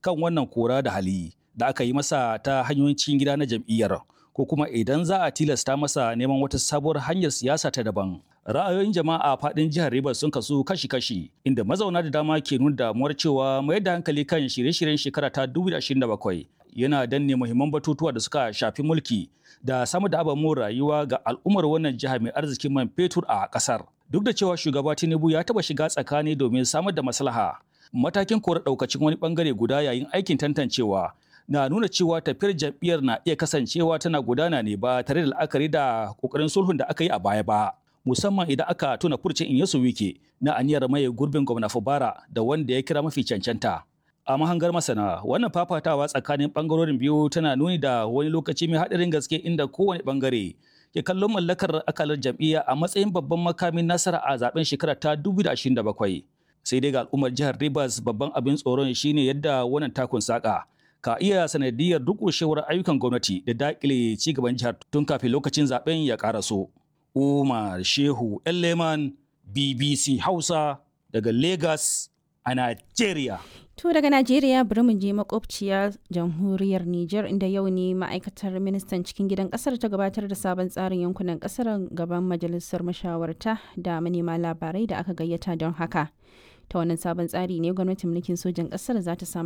kan wannan kora da hali da aka yi masa ta hanyoyin cikin gida na jam'iyyar, ko kuma idan za a tilasta masa neman wata sabuwar hanyar siyasa ta daban. Ra'ayoyin jama'a a faɗin jihar Rivers sun kasu kashi-kashi, inda mazauna da dama ke nuna damuwar cewa mayar da hankali kan shirye-shiryen shekara ta 2027 yana danne muhimman batutuwa da suka shafi mulki da samar da ababen rayuwa ga al'ummar wannan jiha mai arzikin man fetur a kasar. Duk da cewa shugaba Tinubu ya taba shiga tsakani domin samar da maslaha, matakin kora daukacin wani bangare guda yayin aikin tantancewa na nuna cewa tafiyar jam'iyyar na iya kasancewa tana gudana ne ba tare da la'akari da kokarin sulhun da aka yi a baya ba. Musamman idan aka tuna furcin Inyasu Wike na aniyar maye gurbin gwamna Fubara da wanda ya kira mafi cancanta. A mahangar masana, wannan fafatawa tsakanin bangarorin biyu tana nuni da wani lokaci mai haɗarin gaske inda kowane bangare ke kallon mallakar akalar jam'iyya a matsayin babban makamin nasara a zaben shekara ta 2027. Sai dai ga al'ummar jihar Rivers, babban abin tsoron shine yadda wannan takun saka ka iya sanadiyar durƙushewar ayyukan gwamnati da daƙile ci gaban jihar tun kafin lokacin zaben ya ƙaraso. Umar Shehu Elleman, BBC Hausa, daga Lagos a Nigeria. To daga Najeriya bari mu je makwabciya jamhuriyar Nijar, inda yau ne ma'aikatar ministan cikin gidan kasar ta gabatar da sabon tsarin yankunan kasar gaban majalisar mashawarta da manema labarai da aka gayyata don haka. Ta wannan sabon tsari ne gwamnatin mulkin sojan kasar za ta samar